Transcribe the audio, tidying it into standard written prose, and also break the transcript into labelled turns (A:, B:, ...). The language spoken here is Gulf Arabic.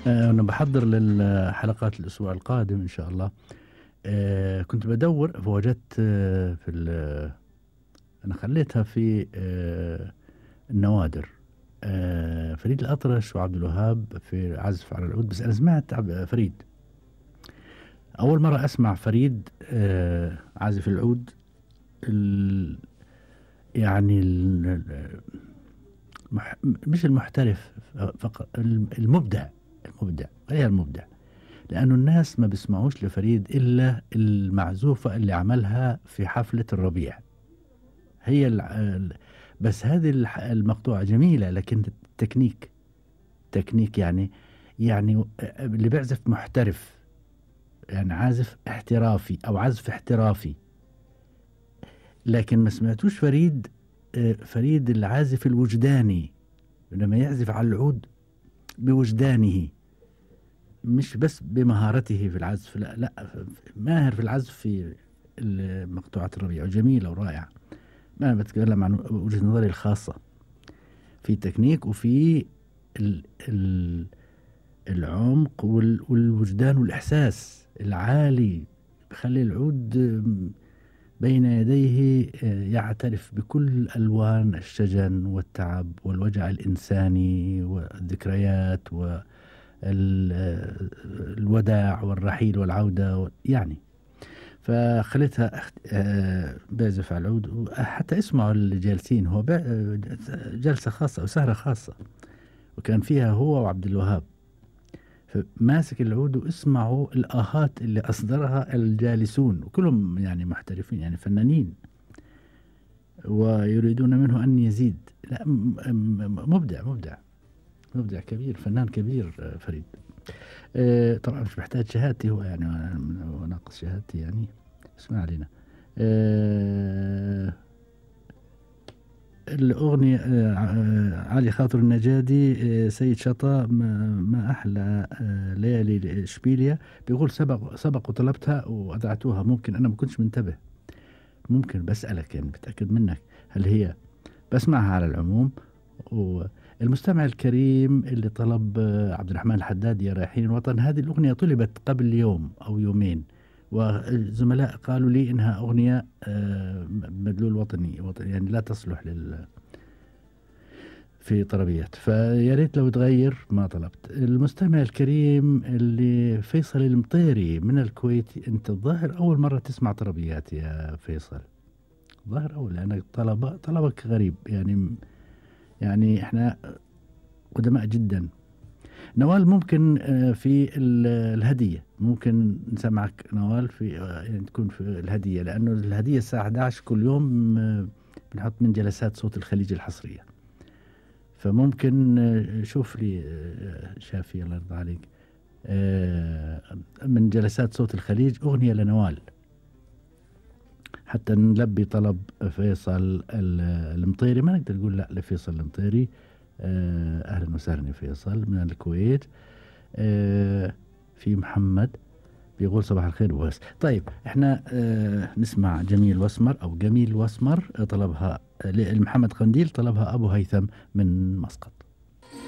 A: أنا بحضر للحلقات الأسبوع القادم إن شاء الله. كنت بدور فوجدت أنا خليتها في النوادر. فريد الأطرش وعبد الوهاب في عزف على العود، بس أنا سمعت فريد أول مرة أسمع فريد عازف العود. يعني مش المحترف فقط، المبدع. غير المبدع، لأنه الناس ما بيسمعوش لفريد إلا المعزوفة اللي عملها في حفلة الربيع. هي بس هذه المقطوعة جميلة، لكن تكنيك يعني اللي بيعزف محترف، يعني عازف احترافي أو عزف احترافي. لكن ما سمعتوش فريد العازف الوجداني لما يعزف على العود بوجدانه، مش بس بمهارته في العزف، لا ماهر في العزف في مقطوعة الربيع، وجميلة ورائعة. ما أنا بتكلم عن وجهة نظري الخاصة في تكنيك وفي العمق والوجدان والإحساس العالي، بخلي العود بين يديه يعترف بكل ألوان الشجن والتعب والوجع الإنساني والذكريات والوداع والرحيل والعودة يعني. فخليتها بيعزف على العود، حتى اسمعوا اللي جالسين، هو جلسة خاصة وسهرة خاصة، وكان فيها هو وعبد الوهاب، فماسك العود واسمعوا الآهات اللي أصدرها الجالسون، وكلهم يعني محترفين، يعني فنانين، ويريدون منه أن يزيد. لا مبدع كبير، فنان كبير فريد. طبعا مش محتاج شهادتي هو، يعني وناقص شهادتي يعني، اسمع علينا. الأغنية علي خاطر النجادي، سيد شطا، ما أحلى ليالي إشبيلية. بيقول سبق وطلبتها وأذعتوها، ممكن أنا ما كنتش منتبه، ممكن بسألك يعني بتأكد منك هل هي، بسمعها على العموم. والمستمع الكريم اللي طلب عبد الرحمن الحداد يا رايحين الوطن، هذه الأغنية طلبت قبل يوم أو يومين، والزملاء قالوا لي إنها أغنية مدلول وطني يعني لا تصلح في طربيات، فيا ريت لو تغير ما طلبت. المستمع الكريم اللي فيصل المطيري من الكويت، أنت الظاهر أول مرة تسمع طربيات يا فيصل، ظاهر أول، لأنك طلبك غريب يعني إحنا قدماء جدا. نوال ممكن في الهدية، ممكن نسمعك نوال في يعني تكون في الهدية، لأنه الهدية الساعة 11 كل يوم بنحط من جلسات صوت الخليج الحصرية، فممكن شوف لي شافي الله يرضى عليك من جلسات صوت الخليج أغنية لنوال، حتى نلبي طلب فيصل المطيري. ما نقدر نقول لا لفيصل المطيري. أهلا وسهلا فيصل من الكويت. في محمد بيقول صباح الخير وبس. طيب احنا نسمع جميل واسمر طلبها محمد قنديل، طلبها أبو هيثم من مسقط.